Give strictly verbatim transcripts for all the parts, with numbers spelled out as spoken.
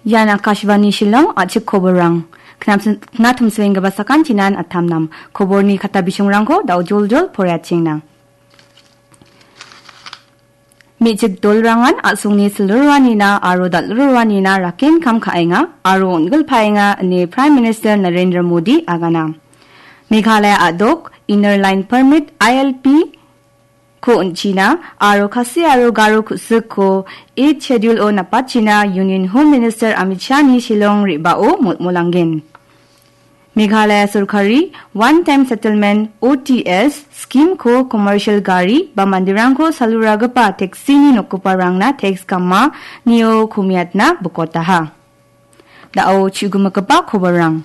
Ian Akashvani Shillong, a·chik koborrang. Knapsin-, knatumsenggipa sakantinan atamnam. Koborni kata bisongrangko da·o joljol poraiatengna. Me·chik dolrangan a·songni silriroanina aro dal·riroanina raken kam ka·enga aro on·gilpaenga ine Prime Minister Narendra Modi agana. Meghalaya a·dok Inner Line Permit, I L P, ko on·china aro Khasi aro Garo ku·sikko Eighth Schedule-o napatchina Union Home Minister Amit Shah-ni Shillong re·bao molmolanggen. Meghalaya sorkari One Time Settlement, O T S, scheme-ko commercial gari ba manderangko saluragipa taxi-ni nokgiparangna tax gamanio komiatna bikotaha. Da·o chu·gimigipa koborrang.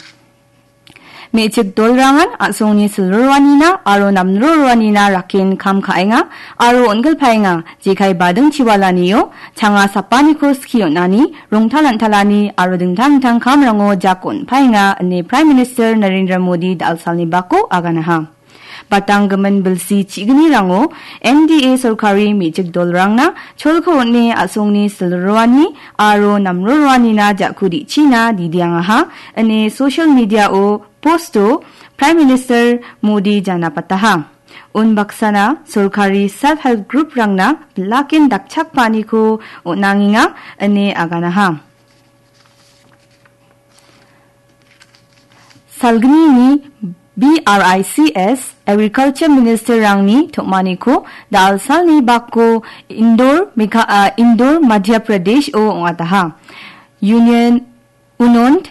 Me·chik dolrangan a·songni silriroanina aro namriroanina raken kam ka·enga aro on·gilpaenga, jekai bading chiwalanio changa sapaniko skie on·ani, rongtalantalani aro dingtang dingtang kamrango jako on·paenga ine Prime Minister Narendra Modi da·alsalni bako aganaha. Batanggimin bilsi chi·gnirango N D A sorkari me·chik dolrangna cholko on·e a·songni silriroani aro namriroanina ja·ku di·china didiangaha ine social media-o post-o Prime Minister Modi janapataha. Unbaksana sorkari self help group-rangna bilaken dakchakpaniko on·angenga ine aganaha. Salgnini B R I C S Agriculture Minister-rangni tom·aniko da·alsalni bako Indore, Megha-, ah, Indore, Madhya Pradesh-o ong·ataha. Union, unon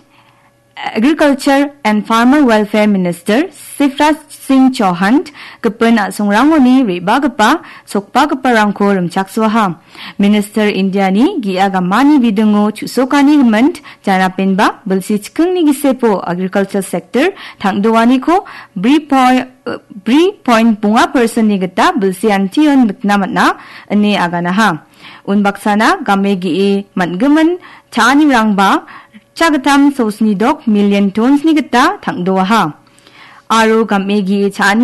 Agriculture and Farmer Welfare Minister Shivraj Singh Chauhan gipin a·songrangoni re·bagipa, sokbagiparangko rimchaksoaha. Minister Indiani ge·a gamani bidingo chu·sokani gimin janapenba bilsi chikingni gisepo agriculture sector tang·doaniko bri poi-, bri point bonga percent-ni gita bilsi antion nikna man·a, ine aganaha. Unbaksana game ge·e man·gimin cha·anirangba chagittam sosni dok million tons-ni gita tang·doaha. Aro game ge·e cha·ani